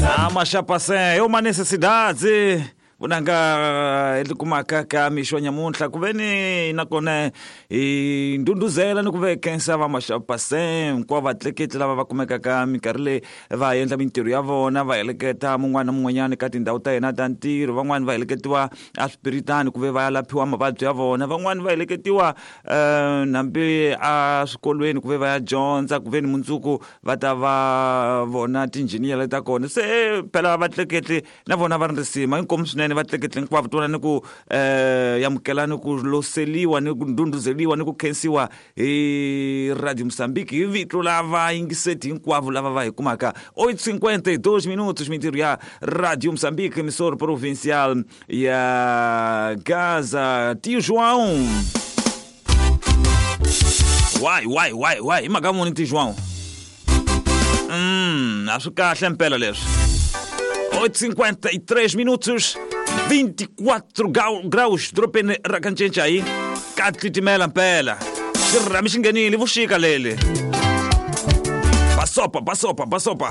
Amaxapase é uma necessidade vunanga hi kumaka ka mixo nyamuntlha ku ve ni nakona hi ndhundhuzela ni ku ve khensa va maxapase hinkwavo vatleketli lava va kumekaka minkarhi leyi va endla mintirho ya vona va heleketa mun'wana na mun'wanyana ka tindhawu ta yena ta ntirho. Van'wani va heleketiwa eswipiritani ku ve va ya laphiwa mavabyi ya vona, van'wani va heleketiwa hambi eswikolweni ku ve va ya dyondza, ku ve ni mundzuku va ta va vona tinjhiniyele ta kona. Se phela vatleketli na vona va ri risima inkomu swinene vatleketli hinkwavo tona ni ku amukela ni ku loseliwa ni ku ndhundhuzeliwa ni ku khensiwa hi Radio Mozambique hi vito la vayingiseti hinkwavo lava va hi kumaka. 8:52 minutos, mintirho ya Radio Mozambique, emissora provincial ya Gaza. Tio João, why why why why hi mhaka muni Tio João? A swi kahle mpela leswi. 8:53 minutos, 24 graus dorobeni ra ka Ncencai, ka titimela mpela, xirhami xi nghenile vuxika leli. Basopa basopa basopa.